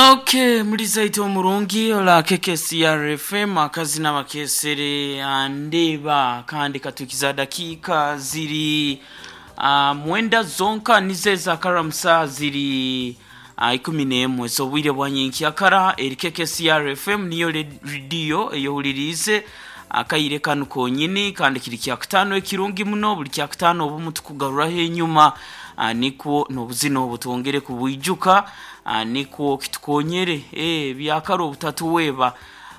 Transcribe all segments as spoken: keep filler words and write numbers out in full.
Okay, mulizaito omurungi ola K K C R F M, akazina bakesere andeba, kandi katukiza dakika ziri uh, mwenda zonka nize zakaramusa ziri uh, ikumi n'emwe z'obwire bwa nyenkyakara. Eri K K C R F M, niyo rediyo eyohuliriize akaire kanu konyini, kandi kiri kyakutaano ekirungi muno. Buli kyakutaano obumu tukugaruraho enyuma, uh, nikwo n'obuzina obu twongere kubwijuka, uh, nikwo kitukonyere eh, byakara obutatuweeba,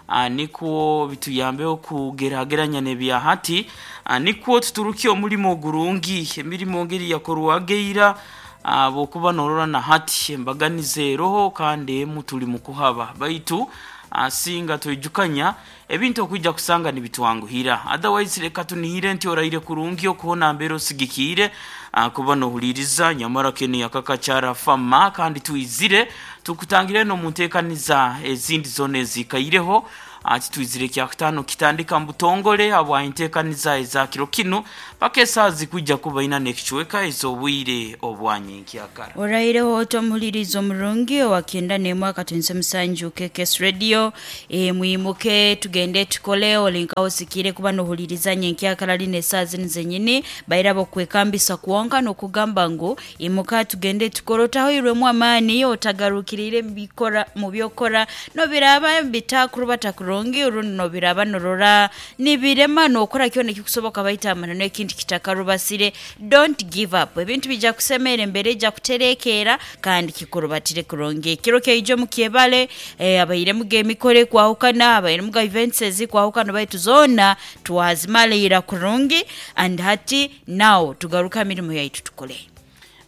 uh, nikwo bituyambeho kugerageranya n'ebya hati, uh, nikwo tuturuke omulimo ogurungi, emirimo ngeri yakorwaga eira. uh, bwokuba norora na hati embaganiza eroho, kandi emu tuli mu kuhaba, baitu asinga twijukanya ebintu okwijja kusanga nibitwanguhira. Otherwise reka tunihire nti oraire kurungi okuhona mbere osigikiire ah, kuba nohuliriza nyamara kene yakakakyara fama, kandi twizire tukutangire nomunteekaniza ezindi zona ezikaireho. Ati twizire kyakutaano kitandika mubutongole habwa enteekaniza eza kiro kinu paka esaaha zikwijja kuba ina n'ekicweka ez'obwire obwanyenkyakara. Oraireho ota omuhuliriza omurungi owa kyenda n'emwe akatunisa musanju K K S Radio. e, mwimuke tugende tukole. Olinkaho osikire kuba nohuliriza nyenkyakara lino esaaha zinu zenyini, bairaba okwekambisa kwonka nokugamba ngu imuka tugende tukole, otahoirwemu amaani, otagarukirire mubikora mu byokora. Nobiraba bitakurubata kurungi rundi nobiraba norora nibirema, nokora kyona ekikusoboka, baita amanano ekintu kitakarubasire, don't give up. Ebintu bijja kusemera, embere ejja kuterekeera kandi kikurubatire kurungi. Ekiro kyaijo mukyebale. eh, abairemu gemikoro ekwahukana, abairemu ga events ezikwahukana, baitu zoona twazimaliira kurungi, and hati now tugaruka mirimu yaitu tukole.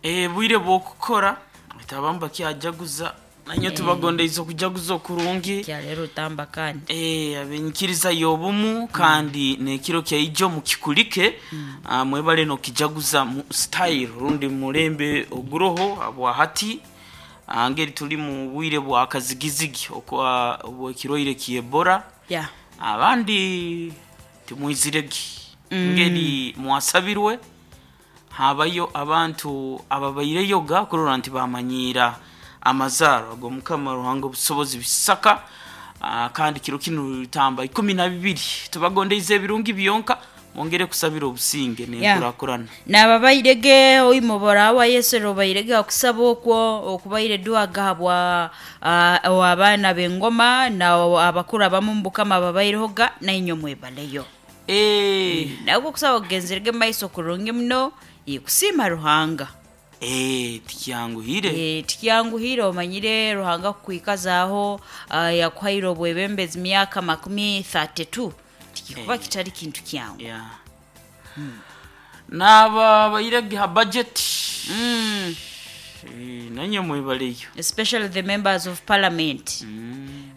Eh, bwire bwokukora abamu bakyajaguza, nanye tubagondeize okujaguza okurungi. Kyaleero otamba kandi. Eh, abenyikiriza y'obumu, kandi nekiro kyaijo mukikulike, ah, mwebale nokijaguza mu style rundi mulembe oguroho abwa hati. ah, ngeri tuli mu bwire bwa kazigizigi okwa obwekiroire kyebora, yeah. abandi timwiziregi ngeri mwasabirwe. Habayo abantu ababaireyoga kurora nti bamanyiira amazaaro ago Mukama Ruhanga obusobozi bisaka. ah, kandi kiro kinu tamba ikumi na bibiri, tubagondeize ebirungi byonka, mwongere kusabira obusinge nenkurakurana. Nababairege oimobora wa Yesu robairege akusaba okwo okubaire duaga habwa uh, abaana b'engoma na abakuru abamu mubukama babairehoga, nainyo mwebaleyo. Eh, nabwo okusaba kugenzerege mumaiso kurungi muno, eh, kusiima Ruhanga. eh, tikyanguhire. Eh, tikyanguhire, omanyire Ruhanga kukwikazaaho, uh, yakuhaire obwebembezi myaka makumi thirty-two, tikikuba kitali kintu kyangu. Yeah. Naba bairege ha budget, mm. eh, nanye mwebaleyo. Especially the members of parliament,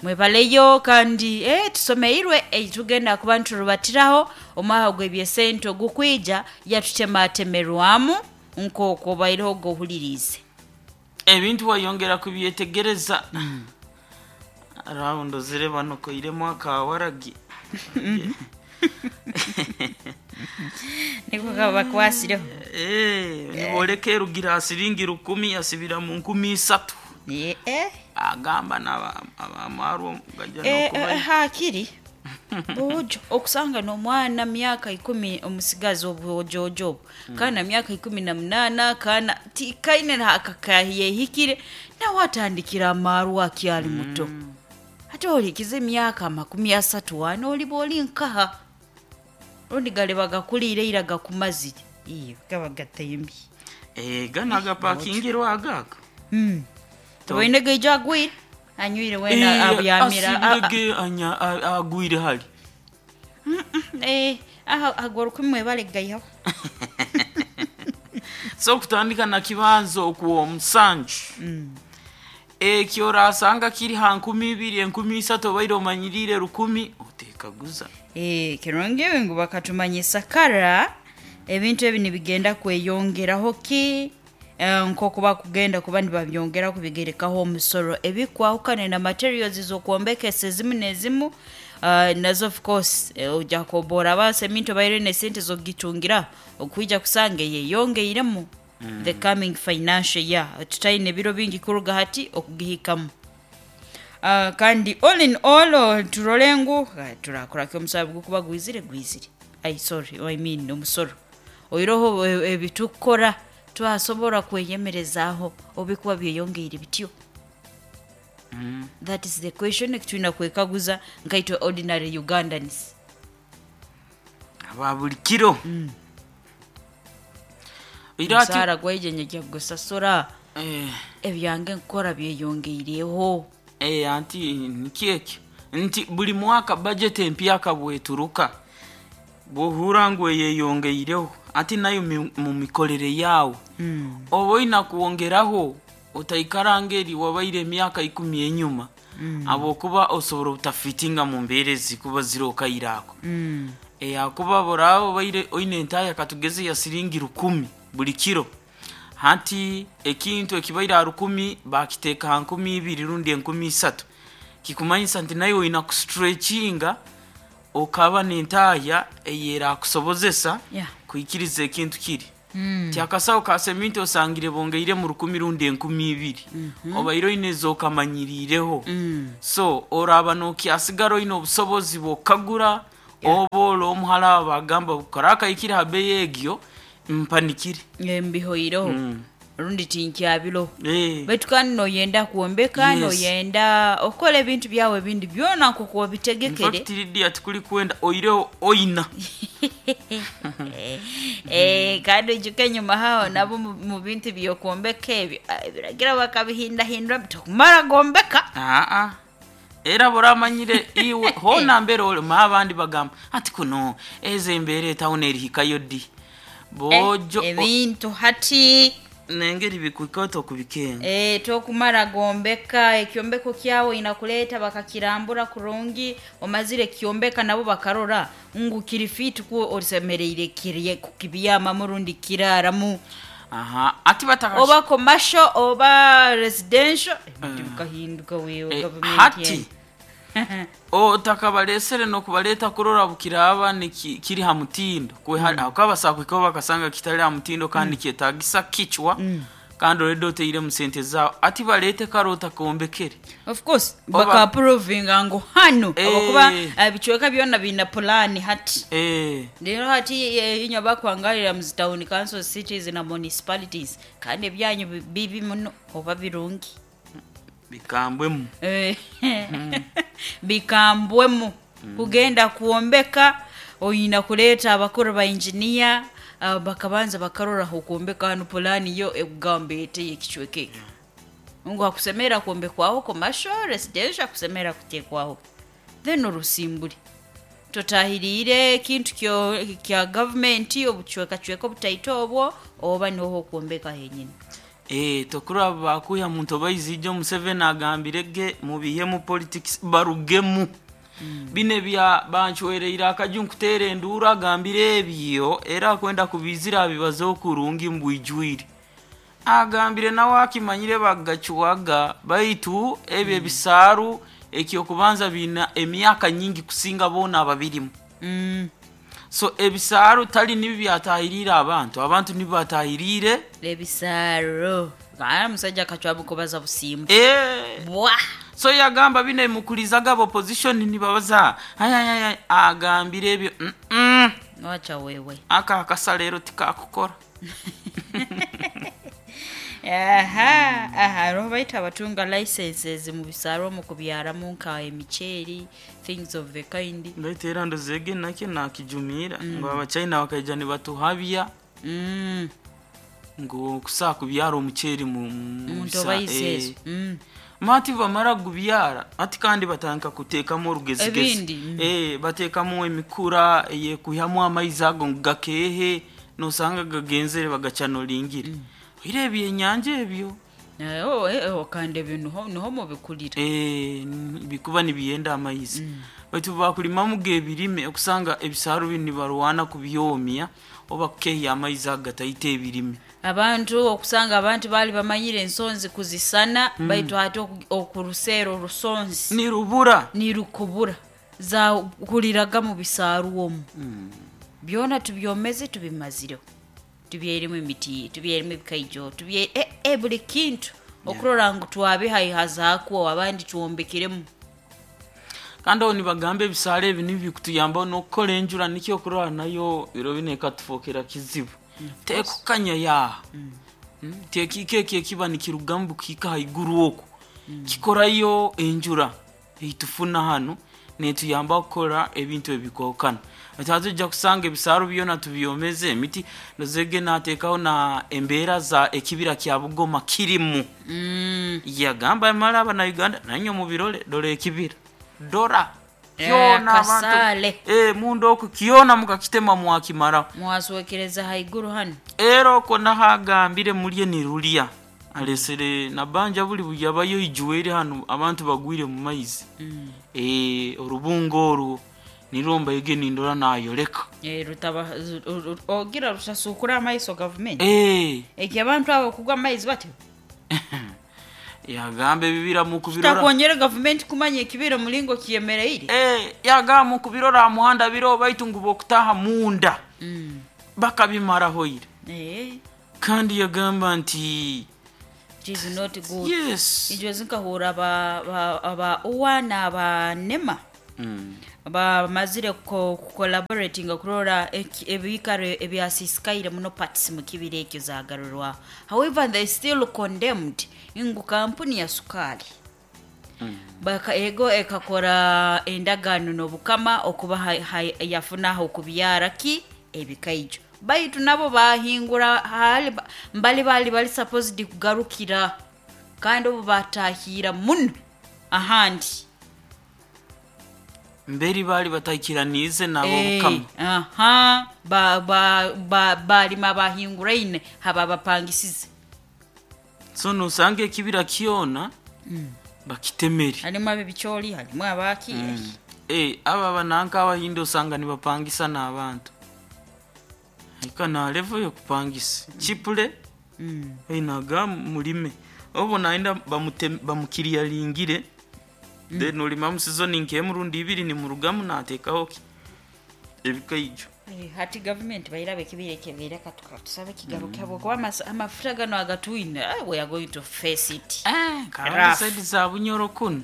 mwebaleyo. Kandi eh, tusomeirwe eh, tugenda kuba niturubatiraho omwaka gw'ebyesente ogukwija, yatutematemerwamu nk'okwo baireho gohulirize. Ebintu wayongera kubyetegereza raundo zire banokoiremu akawaragi. Niko kabakwasireho. Eh, niboleka erugira asiringi rukumi asibira mu nkumi isatu. Eh, eh. Agamba n'abamarwo gajja Eh, nokuba eh, hakiri bojo okusanga n'omwana myaka ikumi, omusigazi obwojojo obwo, kana myaka ikumi na munaana, kana ti- kaine akakayehikire, nawe atandikira amarwa akyali muto. Ate olikiza emyaka amakumi asatu wana, oliba oli nkaha? Rundi galeba gakuliire ira gakumazire, iyo gaba gatembye. Eh, gana agapakingirwa agaga. Toine gaijo agwire anywire wena abyamira. Asibirege anya a- agwire hali. Eh, aha agora kumwe gaihaho. So kutandika na kibanzo okuwa omusanju, ekyo orasanga kiri ha nkumi ibiri, enkumi isatu, obaire omanyirire rukumi, otekaguza. Eh, kirungi ngu bakatumanyisa kara ebintu ebi nibigenda kweyongeraho ki, eh, nk'oku bakugenda kuba nibabyongera kubigerekaho omusoro ebikwahukana na materials z'okwombekesa ezimu n'ezimu, uh, nazo of course, eh, ojja kobora basa eminto baire nesente zogitungira okwija kusanga yeyongeiremu the coming financial year, tutaine ebiro bingi kuruga hati okugihikamu. Uh, kandi all in all oh, turole ngu uh, turakoraki omusabe gukuba gwizire gwizire ai sorry, I mean omusoro oiroho ebitukora twasobora kweyemerezaaho obikuba byeyongeire bityo. Mm. That is the question ekitulina kwekaguza nkaitwe ordinary Ugandans. Aba buli kiro mm. Omusaara gwaije gusasura eh. Ebyange nkukora byeyongeireho. Eh, anti nikyekyo nti buli mwaka budget empyaka bweturuka bwohura ngu eyeyongeireho ati nayo mu mikorere yawe mm. Oba oina kuwongeraho otaikara ngeri wabaire emyaka ikumi enyuma mm. Abokuba osobora obutafitinga mu mbeera ezikuba zirokairako mm. E, akuba boraba obaire oine entaya katugeze ya siringi rukumi buli kiro hati ekintu ekibaire aha rukumi bakiteeka ha nkumi ibiri rundi enkumi isatu kikumanyisa nti naye oina kustretchinga okaba n'entaya eyerakusobozesa Yeah. kuikiriza ekintu kiri Mm. ti akasawo ka seminti osangire bongeire mu rukumi rundi enkumi ibiri mm -hmm. Obaire oine ez'okamanyiriireho mm. So oraba nokyasigara oine obusobozi bwokagura Yeah. oba ora omuhara bagamba kora akaikire ha beyi egyo mpanikire Mbihoireho Mm. rundi tinkyabiroho Eh. baitu kandi noyenda kwombeka Yes. noyenda okukola ebintu byawe ebindi byona nkoku obitegekere. In fact, Lydia tikuli kwenda oireho oina Eh, kandi oijuke enyuma haho nabo mu mu bintu byokwombeka ebyo ah, ebiragira bakabihindahindura tokumara gombeka. Aa era boramanyire iwe hona mbere ole ma abandi bagamba ati kuno eze embere etawuni erihikayo ddi bojo Eh, ebintu hati nengeri bikuikota okubikenga Eh, tokumara gombeka ekyombeko kyawe inakuleta bakakirambura kurungi omazire kyombeka nabo bakarora ngu kiri fit ku orisemereire kirye kukibyamamu rundi kiraramu aha ati bataka oba commercial oba residential ebintu bikahinduka wewe Eh, government hati yene. otakabalesere nokubaleta kurora bukiraba niki- kiri ha mutindo mm. akabasakwikaho bakasanga kitali ha mutindo kandi mm. kyetagisa kichwa mm. Kandi already oteire mu sente zawe ati balete kare otakaombekere Of course Oba- bakaapprovinga ngu hano Eh. abakuba ebicweka byona biina pulani hati eh. rero hati eh, inywe abakwangalira mu town council cities na municipalities kandi ebyanyu bi- bibi muno oba birungi bikambwemu Eh, bikambwemu kugenda kwombeka oyina kuleeta abakuru ba engineer ah, bakabanza bakaroraho okwombeka hanu pulani yo ekugamba ete ekicweka ekyo ngu akusemera kwombekwaho commercial residential akusemera kutekwaho then orusimbure totahiriire ekintu kyo kya gavumenti obucwekacweka obutaito obwo oba niho okwombeka henyini. Eh, tokuraba bakuya muntu obaizije Museveni agambire ge mubihe mu politics barugemu mm. Bine bya banchwereire akaju nkuteera enduuru agambire ebyo era akwenda kubizira abibaze okurungi mbwijwire agambire nawe akimanyire bagacuwaga baitu ebyo ebisaaru ekyokubanza biina emyaka nyingi kusinga boona ababirimu mm. So ebisaaru tali nibi byatahiriire abantu abantu nibi batahiriire Ebisaro aa musajja akacwabukubaza busimba Eh. bwa So yagamba bino emukulizaga opposition nibabaza ayayaya agambire ebyo mm -mm. wacha wewe Aka akasa leero tikakukora. Aha aha roho baita abatunga licenses mu bisaro mu kubyaramu nka emiceeri things of the kind. Baitu era ndozege nakyo nakijumiira ngu abachina bakaija nibatuhabya mm. ngu kusaa kubyara omuceeri mu mu Muntu bisa- obayiseezo eh. mm. Mati bamara gubyara ati kandi batandika kuteekamu orugezigezi Ebindi, mm. eh, bateekamu emikura eyekuhyamu amaizi ago ngu gakeehe nosanga gagenzere bagacanolingire mm. Oire ebyenyanja ebyo. Eh, oh, eh, oh, kandi ebyo niho niho mubikurira. Eh, n- bikuba nibiyenda amaizi mm. Baitu bakulimamu gebirime okusanga ebisaaru binu nibarwana kubyomya oba kukehya amaizi ago gataita ebirime. Abantu okusanga abantu baali bamanyire ensonzi kuzisana mm. Baitu ate oku- okuruseera orusonzi nirubura nirukubura zakuliraga mu bisaaru omwo mm. byona tubyomeze tubimazireho tubyeiremu emiti tubyeiremu ebikaijo tubye eh, eh, buli kintu Okurora ngu twabihaihazaakwo abandi twombekiremu. Kandi aho nibagamba ebisaala ebi nibikutuyambaho n'okukora enjura, nikyo okurora nayo biro binu ekatufokera kizibu tekukanya yaha. Mm, tekiika eki ekiba nikirugamu bukiika haiguru oku kikorayo enjura eitufuna hanu netuyamba kukora ebintu ebikwahukana. Tujja kusanga ebisaaro byona tubyomeze emiti nozege nateekaho na embeera za ekibira kya Bugoma kirimu. Mm. Yagamba mara abanauganda nanywe mubirole, dora ekibira, dora Eh, kyona abantu kasaale. eh, mundu oku kyona mukakitema mwakimaraho. Mwaswekereza haiguru hanu. Era okwo nahagambire mulye nirulya alesere nabanja buli buyabayo ijuwere hanu abantu bagwire mu maizi. Mm. Eh, orubungo orwo nirwo mbaige nindora nayoleka. Eh, rutaba ru- ru- ogira rutasukura amaiso gavumenti. Eh, Eki abantu abo kugwa amaizi batyo yagamba ebibira mukubirora. Kitakwongera gavumenti kumanya ekibira mulingo kiyemereire. Eh, yagamba mukubirora aha muhanda biro baitu ngu bokutaha munda Mm. bakabimaraho ire. Eh, Kandi yagamba nti it is not good. Yes. Ijo zinkahura aba aba- aba uwa na aba nema Mm. bamazire ko collaborating kurora eki- ebikaro ebyasisikaire muno parts mu kibira ekyo zagarurwa. However, they still condemned ngu kampuni ya sukali Mm. baka ego ekakora endagaano n'obukama okuba ha- ha- yafunaho okubyara ki ebikaijo, baitu nabo bahingura hali mbali bali bali supposed kugarukira kandi obu batahira muno ahandi. Mberi bali bataikiranize nabo Eh, bukama. aha, ba- ba- ba- balima bahinguraine haba bapangisize. So nosanga ekibira kyona bakitemere. Harimu abebikyoli, harimu abaki. Mm. Eh, aba bananka abahindi osanga nibapangisa n'abantu ika na level yokupangisa chipule. Mm. Einaga mulime obo naenda bamute- bamukiriyaringire, then olima mu season nk'emurundi ibiri nimurugamu nateekaho ki ebikaijo. Eh, hati gavumenti bairaba ekibira ekebeire katusabe kigaruke habwokuba amas- amafuta gano agatwine, eh, we are going to face it. Kandi Rough. saidi za Bunyoro kuno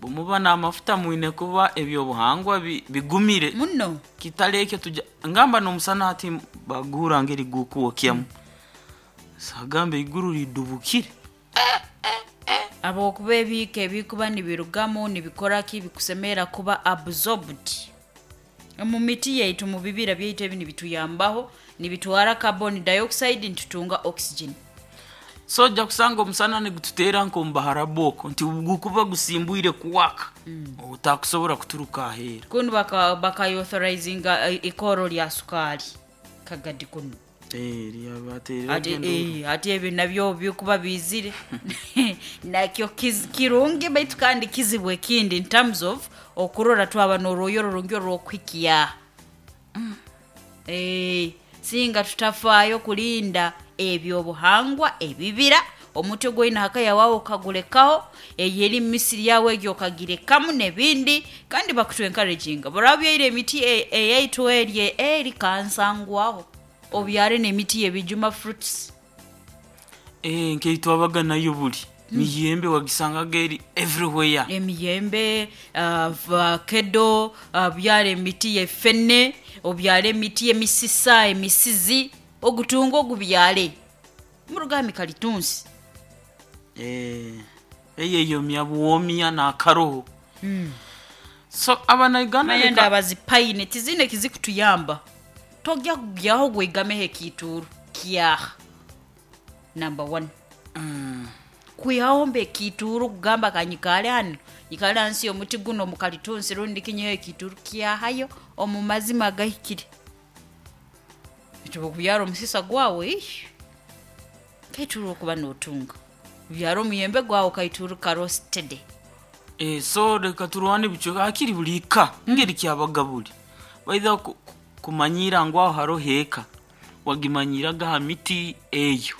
bumuba n'amafuta mwine kuba ebyobuhangwa bi- bigumire. Muno. Kitale ekyo tuja ngamba n'omusana hati bagura ngeri gukuwokyamu sagamba iguru lidubukire. Habwokuba ebiika ebikuba nibirugamu nibikoraki bikusemera kuba absorbed mu miti yaitu, mu bibira byaitu ebi nibituyambaho nibitwara carbon dioxide nitutunga oxygen. So ojja kusanga omusana nigututeera nk'omubaharabu okwo nti gukuba gusimbwire kuwaka otakusobola kuturuka aheera. Kunu baka bakaauthorizinga eh, ikoro lya sukali kagadi kuno. Eh, lyabateerera Ati genda. eh, ati ebyo nabyo bikuba bizire nakyo kiz- kirungi baitu kandi kizibu ekindi in terms of okurora twaba n'orwoyo rurungi orw'okuhikya. Eh, singa tutafaayo kulinda ebyobuhangwa ebibira, omuti ogwoine hakaya wawe okagulekaho, eyo eri misiri yawe egyo okagirekamu n'ebindi, kandi bakutu encouraginga burabyaire emiti e- eyaitu erye eri kansangwaho obyare n'emiti y'ebijuma, fruits. Eh, nkeitwabaga nayo buli miyembe wagisangaga eri everywhere. Emiyembe, vakedo, uh, byara emiti yefene, obyare emiti y'emisisa, emisizi, ogutunga ogubyare murugami kalitunsi. Eh, eyo eyomya buwomya n'akaroho. So abanauganda Manya leka- ndaba zipayine tizine kizikutuyamba tojja kugyaho gwegameho ekituuru kyaha number one. Mm. Kwihaho mbe ekituuru kugamba kanyikale hano nyikale hansi y'omuti guno mukalitunsi rundi kinyeho ekituuru kyahayo omu mazima gahikire ekyo kubyara omusisa gwawe ish, kaituuru okuba notunga byara omuyembe gwawe kaituuru karostede. Eh, so reka turwane bicweka hakiri buli ka ngeri kyabaga buli baitha ku- ku- kumanyira ngu aho haroho eka wagimanyiraga ha miti eyo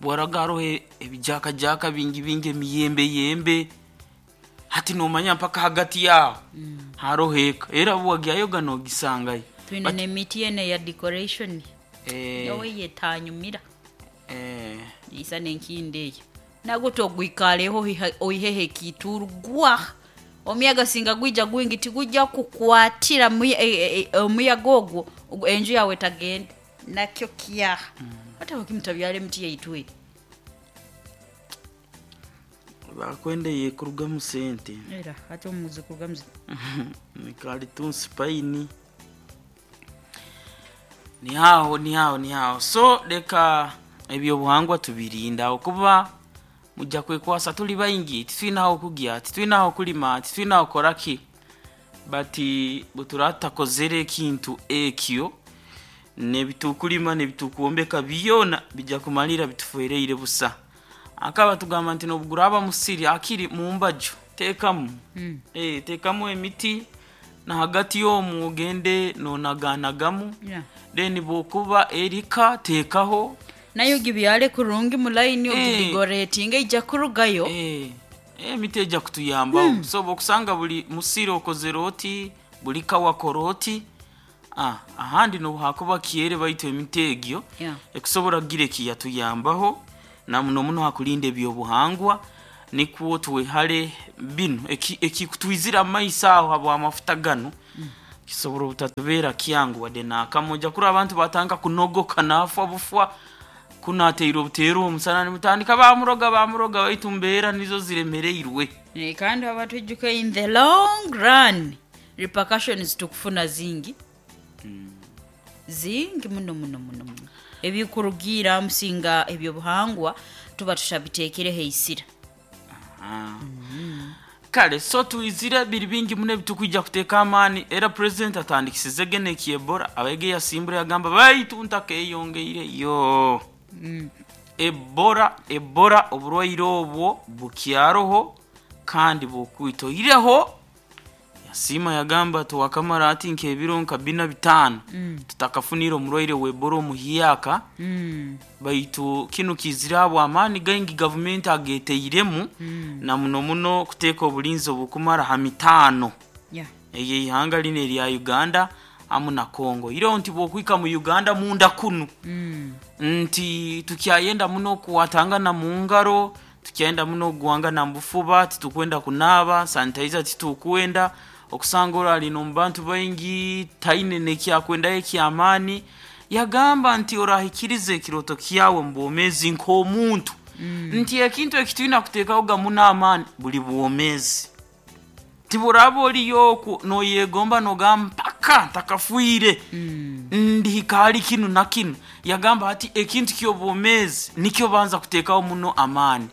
bwaraga haroho e- ebijakajaka bingi bingi emiyembe yembe hati nomanya mpaka hagati yaho haroho eka era bwagyayoga nogisangayo. Twine n'emiti yene ya decoration. Eh, yowe yetanyumira eh, isa nenkindi eyo. Nagwo ogwikaleho oihehe kiturugwa. Omuyaga singa gwija gwingi tigujja kukwatira omuyaga ogwo enju yawe tagenda. Nakyo kyaha. Mm. Hata wakimutabyale emiti yaitwe. Bakwende yekurugamu sente. Era hata omuzi kurugamu. Nikali tunsipaini. Ni hao ni hao ni hao. So leka ebyo buhangwa tubirinda okuba mujja kwekwasa tuli baingi titwinaho kugya titwinaho kulima titwinaho koraki bati buturatakozere ekintu ekyo nebitukulima nebitukuombeka byona bijja kumalira bitufereire busa. Akaba tugamba nti nobuguraba musiri akiri mumbaju tekamu mm. eh tekamu emiti na hagati yomu ogende nonaganagamu yeah. Then bokuba erika tekaho nayo gibyale kurungi mulaini eh, ogidigoretinga ija kurugayo eh emiti ejja kutuyamba mm. So bokusanga buli musiri okozeroti buli kawa koroti ah ahandi no hakuba kiere baito emiti egyo yeah. Ekusobora gireki yatuyambaho na muno muno hakulinda ebyobuhangwa nikwo tuwehale bino ekikutwizira eki amaisa aho habwa amafuta gano mm. Kisobora obutatubera kyangu wadde nakamoja kuri abantu batanga kunogoka nafa bufwa kunateire obuteero omusana nimutandika bamuroga bamuroga baitu mbeera nizo ziremereirwe. E, kandi abatwijuke in the long run repercussions tukufuna zingi mm. Zingi muno muno muno muno ebikurugira musinga ebyobuhangwa tuba tushabiteekere heisira. Mm. Kale so tuizire biri bingi mune bitukujja kuteeka amaani era president atandikisize gene Ebola abege yasimbura yagamba baitu ntakeyongeire yo mm. Ebola Ebola oburwaire obwo bukyaroho kandi bukwitoireho yasima yagamba tuwakamara ati nkebiro nka bina bitano mm. Tutakafunira omurwaire w'Ebola omuhiyaka mm. Baitu kino kizira amaani gaingi government ageteiremu mm. Na muno muno kuteeka obulinzi obukumara ha mitano yeah. Eye ihanga line lya Uganda amu na Congo iro nti bokwika mu Uganda munda kunu mm. Nti tukyayenda muno kuwatanga na mungaro tukyayenda muno guwanga na mbufuba titukwenda kunaba sanitizer titukwenda okusanga orali no bantu baingi taine nekyakwenda ekyamani yagamba nti orahikirize ekiroto kyawe mbomezi nk'omuntu mm. Nti ekintu ekitwina kuteekaho gamuna amaani buli bwomezi tiburaba oliyo noyegomba nogamba mpaka ntakafuire mm. Ndihika kinu na kinu yagamba ati ekintu ky'obwomezi nikyo banza kuteekaho muno amaani.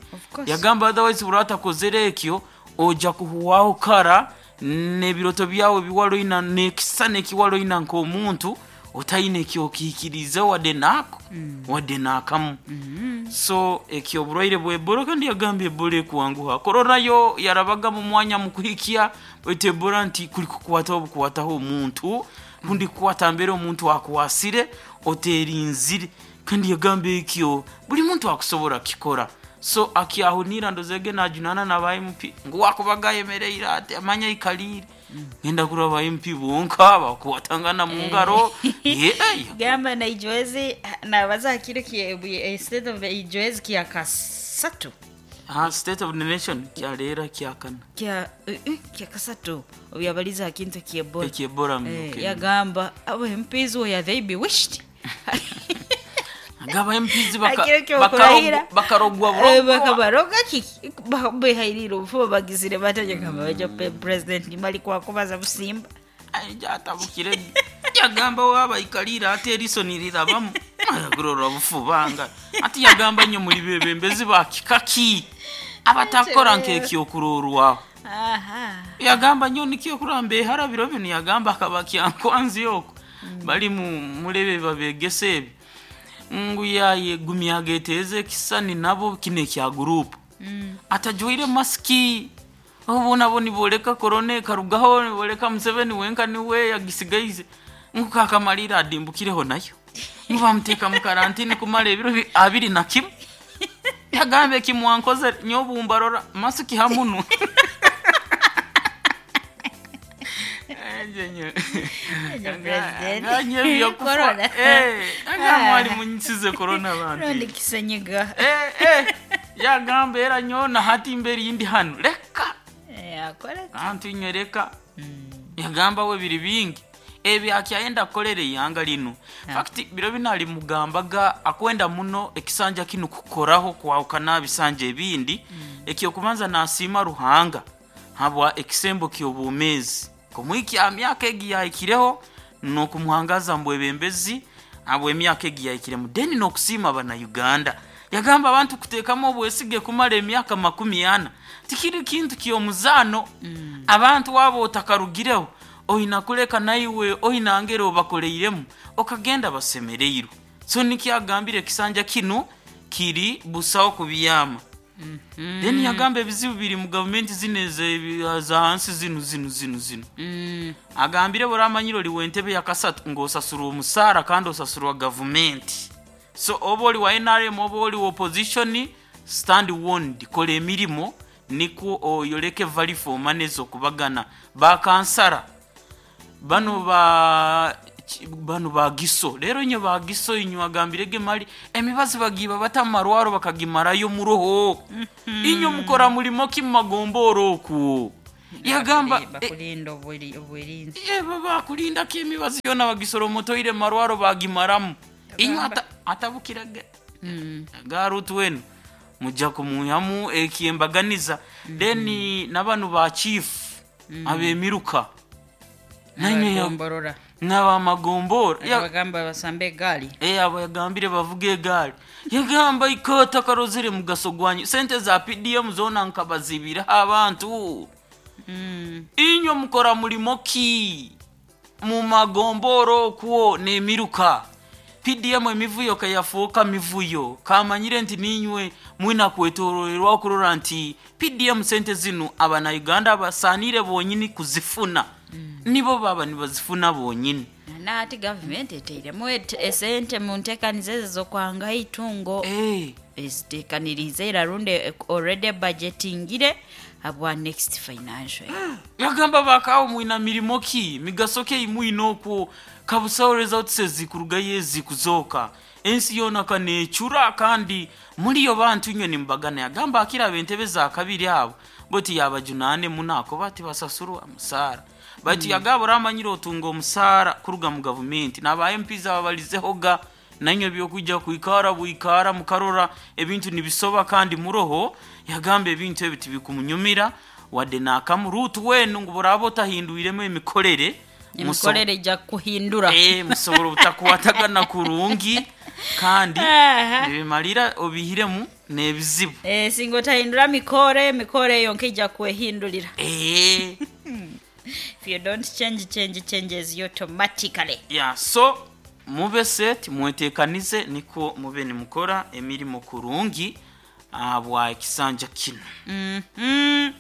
Yagamba otherwise buratakozere ekyo oja kuhuwaho kara nebiroto byawe biwaloina nekisa nekiwaloina nk'omuntu otaine ekyokikiriza wadde naako mm. Wadde naakamu mm -hmm. So ekyo oburwaire bw'Ebola kandi yagamba Ebola ekuwanguha korona yo yarabaga mu mwanya mu kuhikya baitu Ebola nti kuli kukwataho bukwataho omuntu kundi kukwata mbere omuntu akuwasire oterinzire kandi yagamba ekyo buli muntu akusobora kikora. So akyahunira ndozege najunana na ba M P ngu wakubaga yemereire ati amanya ikalire ngenda mm. Kuraba M P bonka bakuwatangana mu ngaro ye gamba na ijoezi na baza kile ki state of ijoezi kya kasatu ah state of the nation kyalera kyakana kya kya kasatu obyabaliza kintu ki Ebola ki Ebola eh, yagamba abo M Ps we they be wished agaba M Ps baka bakarogwa buroko bakabaroga kiki behairira obufuba bagizire batanye kama bajo president nimali kwa kubaza busimba ajatabukire yagamba waba ikalira ate eriso nirirabamu ayagurora bufubanga ati yagamba nyo muri bebembezi bakikaki abatakora nkekyo kurorwaho. Aha yagamba nyo nikyo kurambe harabiro bino yagamba akabakyankwanzi yoko mm. Bali mu mulebe babegese ebi ngu yaye gumyageteze kisani nabo kine kya group mm. Atajoire maski obu nabo niboleka korone karugaho niboleka Museveni wenka niwe yagisigaize ngu kakamalira adimbukireho nayo ngu bamuteka mu karantini kumara ebiro abiri na kimwe yagambe kimwankoze nyobumbarora masiki hamunu Corona. Eh, mwali munyisize corona abantu. Rondi kisenyiga. Eh, eh. Yagamba era nyona hati imbere yindi hano leka Eh, akora antu inywe leka. Yagamba we biri bingi ebyo akyayenda kukolera eihanga lino. Fact biro bino alimugambaga akwenda muno ekisanja kino kukoraho kwahukana bisanja ebindi. Ekyokubanza nasiima Ruhanga habwa ekisembo ky'obwomeezi kumwikya myaka egi yahikireho n'okumuhangaza mbwebembezi habwa emyaka egi yahikiremu, then n'okusiima Bannayuganda. Yagamba abantu kuteekamu obwesige kumara emyaka makumi ana tikiri kintu ky'omuzaano. Abantu waba otakarugireho oyina kuleka naiwe oyina ngeri obakoleiremu okagenda basemereirwe. So nikyo agambire ekisanja kino kiri busaho kubiyama. Then yagamba ebizibu biri mu gavumenti zino eze- za hansi zino zino zino zino. Mm. Agambire buramanyire oli w'entebe ya kasatu ng'osasurwa omusaara kandi osasurwa gavumenti. So oba oli wa N R M oba oli wa opposition, stand warned, kola emirimu nikwo oyoleke value for money z'okubagana. Bakansara bano ba ki- bano bagiso rero inyo bagiso inyo agambirege mali emibazi bagiba bata mu marwaro bakagimarayo muroho. Inyo mukora mulimo ki mu magomboro okwo? Yagamba eh, bakulinda obwiri- obwirinzi. Eba bakulindako emibazi yona bagisora omutoire marwaro bagimaramu. Inyo ata, atabukiraga Mm. garutu wenu mujja kumuyamu ekyembaganiza. Then n'abanu ba chief ab'emiruka nanywe Abagomborora. n'abamagombora Ya- Abagamba basambe egaali. Eh, abo yagambire bavuga egaali. Yagamba ikota karozere mugaso gwanyu sente za P D M zona nkabazibira abantu. Mm. Inywe mukora mulimo ki mu magomboro okwo n'emiruka? P D M emivuyo kayafuuka mivuyo kamanyire nti ninywe mwina kwetorolerwa okurora nti P D M sente zino Abanauganda basaanire bonyini kuzifuna, nibo baba nibazifuna bonyini. Na ati gavumenti eteiremu et- esente mu nteekaniza ezo z'okwangaho eitungo. Eh, Eziteekanirize era rundi already budgetingire habwa next financial year. Yagamba bakawo mwina mirimo ki, migaso ki mwina okwo? Kabusawo results ezikurugayo ezikuzoka ensi yona kanecura kandi muliyo bantu inywe nimubagana. Yagamba akiraba entebe za kabiri abo boti yabajunane munako bati basasurwa musaara bati. Yagaba oramanyire otunga omusaara kuruga mu gavumenti naba M Ps ababalizehoga nanywe byokujja kwikara bwikara mukarora ebintu nibisoba kandi muroho. Yagamba ebintu ebi tibikumunyumira wadde nakamu. Rutu wenu ngu buraba otahindwiremu emikorere muso- Emikorere ejja kuhindura. Eh, musobola obutakwatagana kurungi kandi Aha. ebimalira obihiremu n'ebizibu. Eh, singa otahindura mikore, emikore yonka ejja kwehindulira. Eh, If you don't change, change changes automatically. Yeah, so mube set, mwetekanize niko mube nimukora emirimu kurungi bwa ekisanja kino. Mhm.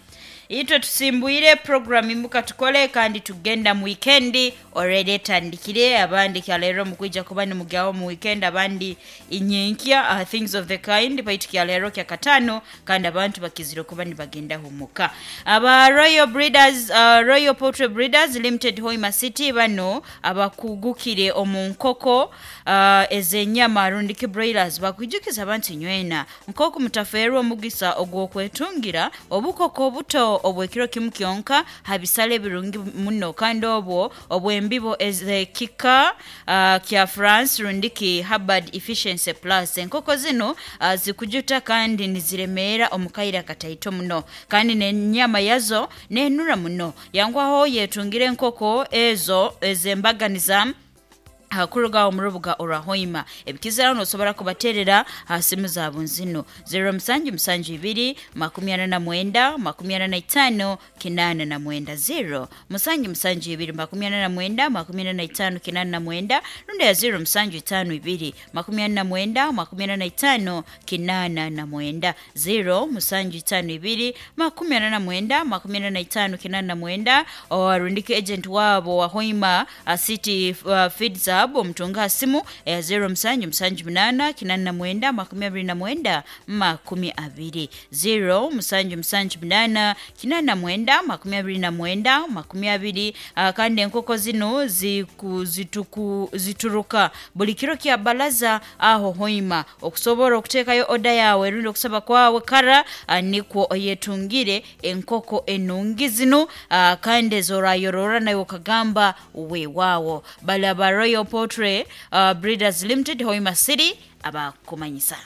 Itwe tusimbuire program imuka tukole kandi tugenda mu weekend already etandikire. Abandi kyaleero mukwija kuba nimugyawo mu weekend, abandi inyenkya, uh, things of the kind. Baitu kyaleero kya katano kandi abantu bakizire kuba nibagenda humuka. Aba Royal Breeders, uh, Royal Poultry Breeders Limited Hoima City, bano abakugukire omu nkoko uh, ez'enyama rundiki broilers, bakwijukiza abantu nywena nk'oku mutafeerwa omugisa ogw'okwetungira obukoko obuto obw'ekiro kimu kyonka habisale ebirungi muno kandi obwo obw'embibo ez'ekika uh, kya France rundiki Hubbard Efficiency Plus. Enkoko zino uh, zikujuta kandi niziremeera omu kaire akataito muno kandi n'enyama yazo nenura muno. Yangwaho yetungire enkoko ezo ez'embaganiza kuruga omu rubuga orwa Hoima. Ebikiziraho nosobora kubaterera ha simu zaabo nzino: zero musanju musanju ibiri makumi ana na mwenda makumi ana na itaano kinaana na mwenda, zero musanju musanju ibiri makumi ana na mwenda makumi ana na itaano kinaana na mwenda, rundi ya zero musanju itaano ibiri makumi ana na mwenda makumi ana na itaano kinaana na mwenda, zero musanju itaano ibiri makumi ana na mwenda makumi ana na itaano kinaana na mwenda. Orundike agent wabo wa Hoima uh, City uh, Feeds. zaabu omutunga ha simu eya zero musanju musanju munana kinana na mwenda makumi abiri na mwenda makumi abiri zero musanju musanju munana kinana na mwenda makumi abiri na mwenda makumi abiri. uh, kandi enkoko zino ziku, zituku, zituruka buli kiro kya balaza aho hoima okusobola okuteekayo oda yawe rundi okusaba kwawe kara uh, nikwo oyetungire enkoko enungi zino uh, kandi ezorayorora nawe okagamba weewaawo. Balaba Royal Poultry uh, Breeders Limited, Hoima City, abakumanyisa.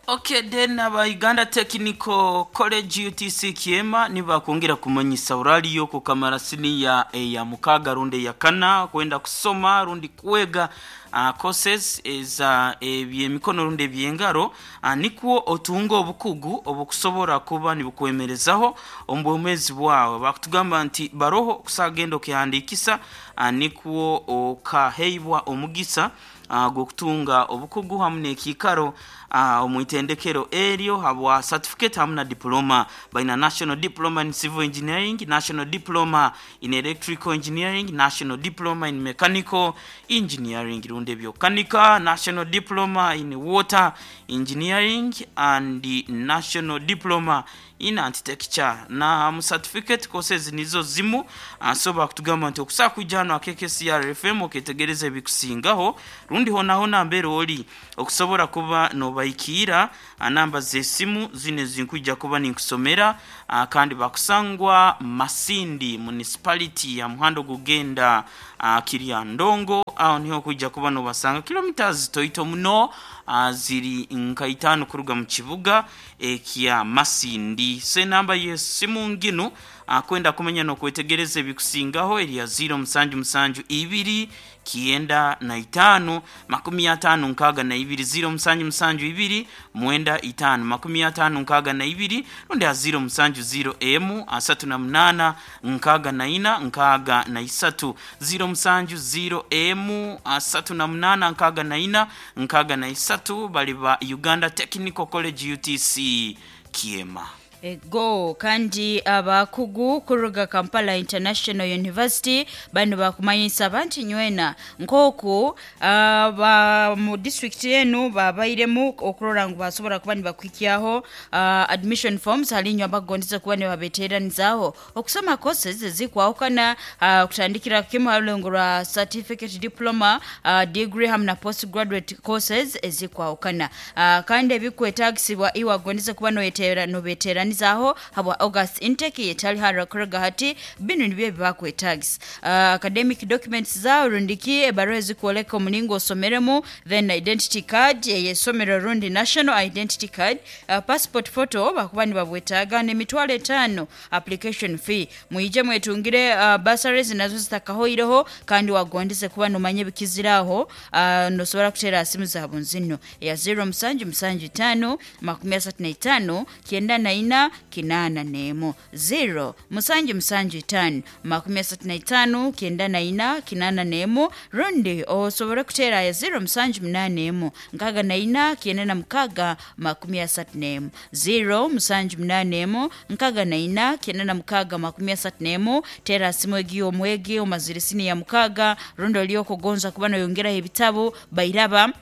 Okay, then aba Uganda Technical College U T C Kiema nibakwongera kumanyisa uraliyo kukamara siniya eya mukaga rundi ya kana kwenda kusoma rundi kwega uh, courses eza ebyemikono rundi ebyengaro uh, nikwo otunga obukugu obukusobora kuba nibukwemerezaho omu bwomezi bwawe. Bakutugamba nti baroho kusagenda okihandikisa uh, nikwo okaheibwa omugisa uh, gwokutunga obukugu hamu n'ekiikaro uh, omwitendekero eryo habwa certificate hamu na diploma. Baina National Diploma in Civil Engineering, National Diploma in Electrical Engineering, National Diploma in Mechanical Engineering rundi ebyokanika, National Diploma in Water Engineering and the National Diploma in Architecture. Na mu certificate courses nizo zimu uh, so bakutugamba nti okusaa kujano a K K C R F M oketegereza ebikusingaho rundi hona hona mbere oli okusobora kuba nobaikira namba z'esimu zine zinkujja kuba ninkusomera uh, kandi bakusangwa Masindi Municipality ya muhando gugenda uh, Kiryandongo aho niho kujja kuba nobasanga kilometers toito muno uh, ziri nka itano kuruga mu kibuga ekya Masindi. Se namba y'esimu nginu uh, kwenda kumenya no kwetegereza ebikusingaho eri ya zero musanju musanju ibiri kienda na itano makumi atano nkaga na ibiri zero musanju musanju ibiri mwenda itano makumi atano nkaga na ibiri rundi ya zero musanju zero emu asatu na munana nkaga na ina nkaga na isatu zero musanju zero emu asatu na munana nkaga na ina nkaga na isatu bali ba Uganda Technical College U T C Kiema. Ego kandi abakugu kuruga Kampala International University bano bakumanyisa abantu nywena nkoku aba mu district yenu babairemu okurora ngu basobora kuba nibakwikiaho uh, admission forms halinyo abagondeza kuba nibabeteranizaaho okusoma courses zikwahukana uh, kutandikira kimu halulengo rwa certificate, diploma, uh, degree hamwe na postgraduate courses ezikwahukana uh, kandi ebikwetagisibwa iwagondeza kuba noyetera nobetera nizaho habwa August intake yetali hara kuruga hati binu nibyo bibakwetagisa uh, academic documents zao rundiki ebaruwa ezikuoleka omulingo osomeremu, then identity card eyesomero rundi national identity card, uh, passport photo bakuba nibabwetaaga n'emitwalo etaano application fee. Mwije mwetungire uh, bursaries nazo zitakahoireho kandi wagondeze kuba nomanye bikiziraho uh, nosobora kutera simu zaabo nzino ya zero musanju musanju tano makumi asatu na itaano kyenda na ina kinana nemo zero musanju musanju tano makumi asatu na itaano kyenda na ina kinana nemo rundi osobora kutera ya zero musanju munane emo nkaga na ina kyenda na mukaga makumi asatu nemo zero musanju munane emo nkaga na ina kyenda na mukaga makumi asatu nemo. Tera simu egiyo omwegi omazirisini ya mukaga rundi oliokugonza kuba noyongeraho ebitabo bairaba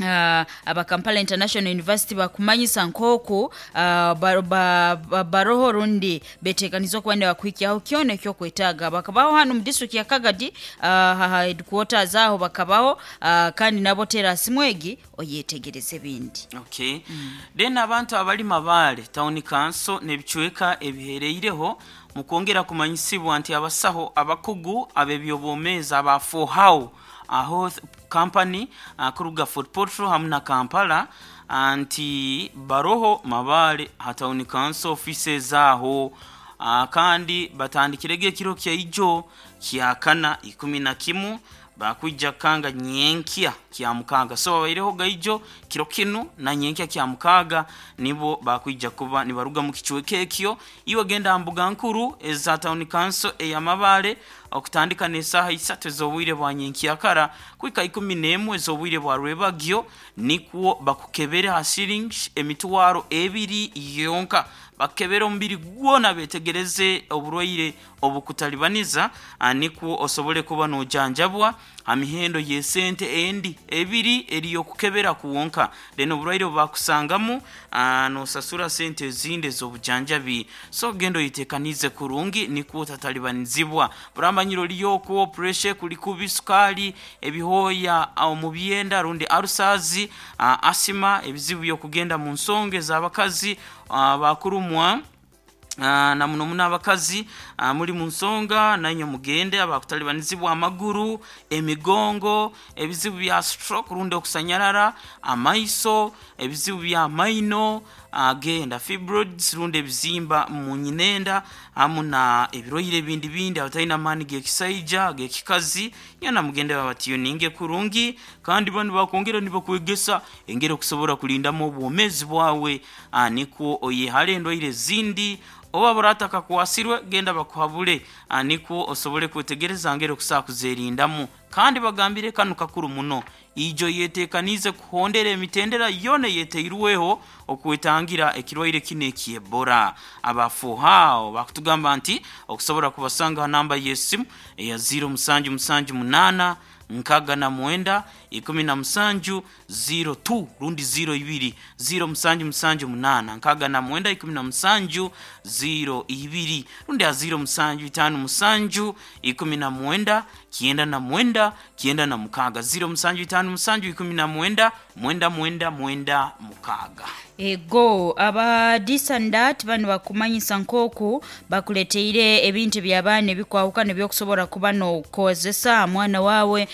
Uh, aba Kampala International University bakumanyisa nkoku uh, ba, ba, ba, baroho rundi betekanizwa kuba nibakwikiaho kyona ekyokwetaaga bakabaho hano mu district ya Kagadi uh, headquarters aho bakabaho uh, kandi nabo tera simu egi oyetegereze ebindi. Okay. Mm. Then abantu abali Mabale Town Council n'ebicweka ebihereireho mukwongera kumanyisibwa nti abasaho abakugu ab'ebyobwomeezi aba four aho company uh, kuruga Fort Portal hamwe na Kampala anti baroho Mabale ha Town Council offices aho uh, kandi batandikirege ekiro kya ijo kyakana ikumi na kimu bakwijja kanga nyenkia kya mukaga so babaireho gaijo kiro kinu na nyenkia kya mukaga nibo bakwijja kuba nibaruga mu kichweke ekyo iwe genda mbuga nkuru eza Town Council eya Mabale okutandika n'esaaha isatu ez'obwire bwa nyenkia kara kwika ikumi n'emwe ez'obwire bwa rwebagyo nikwo bakukebere ha siringi emitwaro ebiri yonka Bakebera omubiri gwona, betegereze oburwaire obukutalibaniza, nikwo osobole kuba nojanjabwa ha mihendo y'esente endi ebiri eriyokukebera kuwonka. Then oburwaire obubakusangamu, nosasura sente ezindi ez'obujanjabi. So genda oyetekanize kurungi nikwo otatalibanizibwa. Buramanyire oliyo okwo pressure kuli kubi, sukali, ebihooya omu byenda rundi ulcers, asima, ebizibu by'okugenda mu nsonga ez'abakazi bakurumwa, na muno muno abakazi muri mu nsonga, nainywe mugende. Abakutalibanizibwa amaguru, emigongo, ebizibu bya stroke rundi okusanyarara, amaiso, ebizibu bya maino, genda. Fibroids rundi ebizimba mu nyinenda, hamu na ebirwaire ebindi bindi, abatalina amaani g'ekisaija, g'ekikazi, nyona mugende babatiyuninge kurungi. Kandi banu bakwongera nibakwegesa engeri okusobora kulindamu obwomeezi bwawe, nikwo oyehale endwaire ezindi. Oba buratakakwasirwe, genda bakuhabule, nikwo osobole kwetegereza ngeri okusobola kuzerindamu. Kandi bagambire kanu kakuru muno, ijo yetekanize kuhondera emitendera yona eyeteirweho okwetangira ekirwaire kino eky'Ebola. Abafuhao bakutugamba nti okusobora kubasanga ha namba y'esimu eya zero musanju musanju munaana nkaga na mwenda ikumi na musanju zero two rundi zero ibiri, zero musanju musanju munaana nkaga na mwenda ikumi na musanju zero ibiri, rundi ha zero musanju itaano musanju ikumi na mwenda kyenda na mwenda kyenda na mukaaga, zero musanju itaano musanju ikumi na mwenda mwenda mwenda mwenda mukaaga. Ego aba disandat bano bakumanyisa nk'oku bakuleteire ebintu by'abaana ebikwahukana ebyokusobora kuba n'okozesa mwana wawe.